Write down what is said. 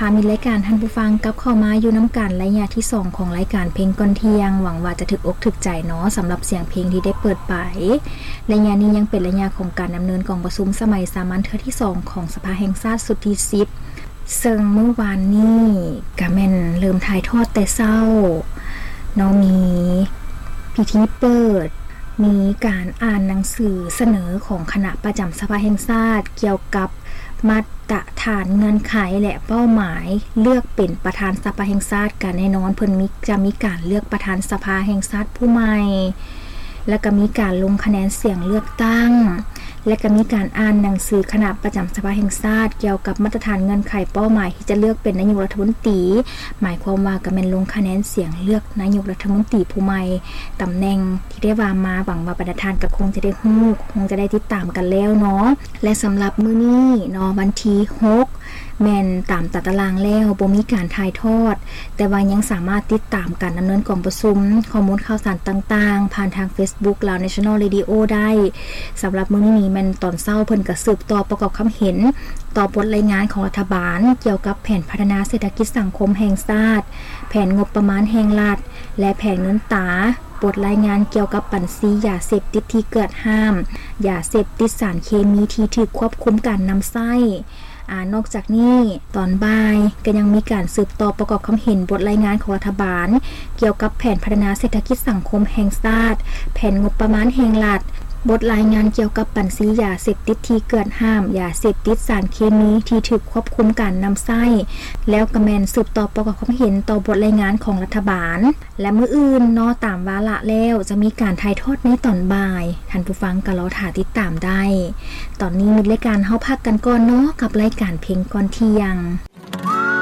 ທ່ານມີລາຍການ ທ່ານຜູ້ຟັງກັບເຂົ້າມາຢູ່ນຳກັນໄລຍະທີສອງຂອງລາຍການເພງກ່ອນທ່ຽງ. ຫວັງວ່າຈະຖືກອົກຖືກໃຈເນາະ ສຳລັບສຽງເພງທີ່ໄດ້ເປີດໄປ. ໄລຍະນີ້ຍັງເປັນໄລຍະຂອງການດຳເນີນກອງປະຊຸມສະໄໝສາມັນເທື່ອທີສອງຂອງສະພາແຫ່ງຊາດຊຸດທີສິບ ເຊິ່ງມື້ວານນີ້ກະແມ່ນເລີ່ມຖ່າຍທອດແຕ່ເຊົ້າເນາະ ມີພິທີເປີດ ມີການອ່ານໜັງສືສະເໜີຂອງຄະນະປະຈຳສະພາແຫ່ງຊາດ ກ່ຽວກັບມາດຕະຖານເງື່ອນໄຂ ແລະ ເປົ້າໝາຍເລືອກເປັນປະທານສະພາແຫ່ງຊາດ. ກະແນ່ນອນເພິ່ນມີ ຈະມີການເລືອກປະທານສະພາແຫ່ງຊາດຜູ້ໃໝ່ ແລະ ກະມີການລົງຄະແນນສຽງເລືອກຕັ້ງ ແລະ ກະມີການອ່ານໜັງສືຄະນະປະຈຳສະພາແຫ່ງຊາດ ກ່ຽວກັບມາດຕະຖານເງື່ອນໄຂເປົ້າໝາຍທີ່ຈະເລືອກເປັນນາຍົກລັດຖະມົນຕີ ໝາຍຄວາມວ່າກະແມ່ນລົງຄະແນນສຽງເລືອກນາຍົກລັດຖະມົນຕີຜູ້ໃໝ່. ຕຳແໜ່ງທີ່ໄດ້ວ່າມາ ຫວັງວ່າບັນດາທ່ານກະຄົງຈະໄດ້ຮູ້ ຄົງຈະໄດ້ຕິດຕາມກັນແລ້ວເນາະ. ແລະ ສຳລັບມື້ນີ້ເນາະ ວັນທີຫົກ ແມ່ນຕາມຕາຕະລາງແລ້ວບໍ່ມີການຖ່າຍທອດ ແຕ່ວ່າຍັງສາມາດຕິດຕາມການດຳເນີນກອງປະຊຸມ, ຂໍ້ມູນຂ່າວສານຕ່າງໆ ຜ່ານທາງ Facebook Lao National Radio ໄດ້. ສຳລັບມື້ນີ້ນີ້ແມ່ນຕອນເຊົ້າເພິ່ນກະສືບຕໍ່ປະກອບຄຳເຫັນຕໍ່ບົດລາຍງານຂອງລັດຖະບານ ກ່ຽວກັບແຜນພັດທະນາເສດຖະກິດສັງຄົມແຫ່ງຊາດ, ແຜນງົບປະມານແຫ່ງລັດ ແລະ ແຜນເງິນຕາ, ບົດລາຍງານກ່ຽວກັບບັນຊີຢາເສບຕິດທີ່ເກືອດຫ້າມ, ຢາເສບຕິດ, ສານເຄມີທີ່ຖືກຄວບຄຸມການນຳໃຊ້. ອາ ນອກຈາກນີ້ ຕອນບ່າຍກະຍັງມີການສືບຕໍ່ປະກອບຄຳເຫັນບົດລາຍງານຂອງລັດຖະບານ ກ່ຽວກັບແຜນພັດທະນາເສດຖະກິດສັງຄົມແຫ່ງຊາດ, ແຜນງົບປະມານແຫ່ງລັດ, ບົດລາຍງານກ່ຽວກັບບັນຊີຢາເສບຕິດທີ່ເກືອດຫ້າມ, ຢາເສບຕິດ, ສານເຄມີທີ່ຖືກຄວບຄຸມການນຳໃຊ້ ແລ້ວກະແມ່ນສືບຕໍ່ປະກອບຄຳເຫັນຕໍ່ບົດລາຍງານຂອງລັດຖະບານ. ແລະ ມື້ອື່ນເນາະ ຕາມວາລະແລ້ວຈະມີການຖ່າຍທອດໃນຕອນບ່າຍ ທ່ານຜູ້ຟັງກະລໍຖ້າຕິດຕາມໄດ້. ຕອນນີ້ມິດລາຍການເຮົາພັກກັນກ່ອນເນາະ ກັບລາຍການເພງກ່ອນທ່ຽງ.